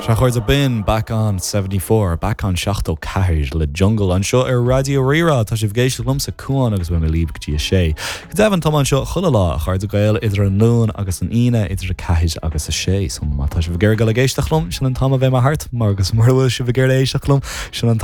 Sea, a chairde, b'in Back On 74, Back On 74 le Jungle anseo ar Raidió Rí-Rá. Tá sibh ag éisteacht liomsa, Cuán, agus beidh mé libh go dtí a sé. Go deimhin, tá mé anseo chuile lá, a chairde Gael, idir an Luan agus an Aoine, idir 4 agus 6. So má tá sibh ag iarraidh dul ag éisteacht liom, sin an t-am a bheidh mé thart, mar agus mura bhfuil sibh ag iarraidh éisteacht liom, sin an.